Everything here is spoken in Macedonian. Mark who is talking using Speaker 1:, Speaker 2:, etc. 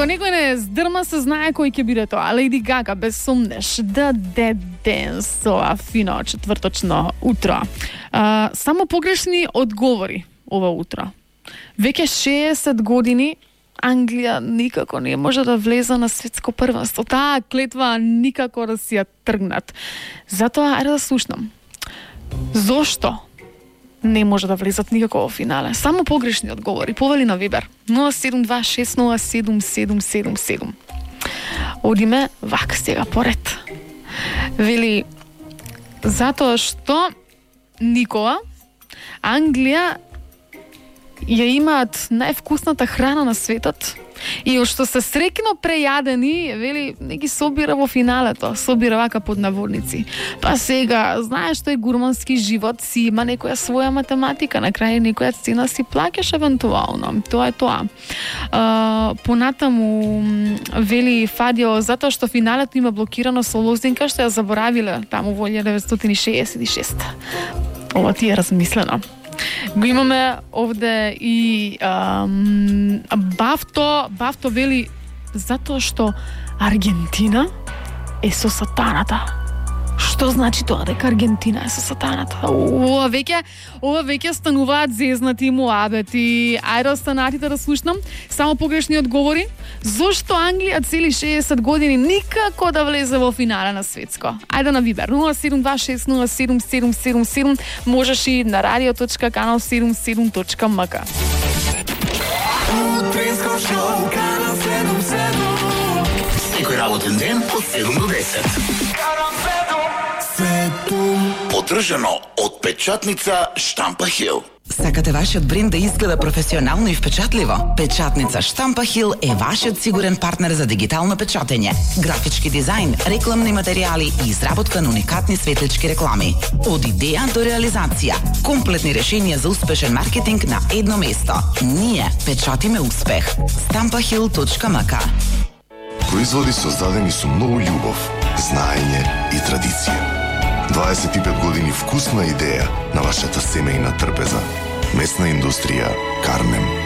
Speaker 1: некој не здрма, се знае кој ќе биде тоа. Леди Гага, без сумнеш. The Dead Dance, тоа фино четврточно утро. Само погрешни одговори ова утро. Веќе 60 години Англија никако не може да влезе на светско првенство. Таа клетва никако да си ја тргнат. Затоа, ајде да слушнам. Зошто не може да влезат никако во финале? Само погрешни одговори. Повели на Вибер. 072607777. Одиме вака сега поред. Вели, затоа што никога Англија ја имаат највкусната храна на светот и од што се среќно прејадени, вели, не ги собира во финалето, собира вака под наводници. Па сега, знаеш, тој гурмански живот си има некоја своја математика, на крај некоја цена си плаќаш евентуално. Тоа е тоа. Понатаму, вели Фадио, затоа што финалето има блокирано со лозинка што ја заборавиле таму во 1966. Ова ти е размислено. Го имаме овде и Бавто вели затоа што Аргентина е со сатаната. Што значи тоа дека Аргентина е со сатаната? Ова веќе стануваат зезнати муабети. Ајде останатите да слушнам. Само погрешни одговори. Зошто Англија цели 60 години никако да влезе во финале на светско? Ајде на Вибер 072607777. Можеш и на radio.canal77.mk.
Speaker 2: Утринско шоу Канал 77.
Speaker 3: Секој работен ден од 7 до 10. Поддржано од печатница Штампа Хил.
Speaker 4: Сакате вашиот бренд да изгледа професионално и впечатливо? Печатница Штампа Хил е вашиот сигурен партнер за дигитално печатење, графички дизајн, рекламни материјали и изработка на уникатни светлички реклами. Од идеја до реализација, комплетни решенија за успешен маркетинг на едно место. Ние печатиме успех. stampahil.mk.
Speaker 5: Производи создадени со многу љубов, знаење и традиција. 25 години вкусна идеја на вашата семејна трпеза. Месна индустрија Кармен.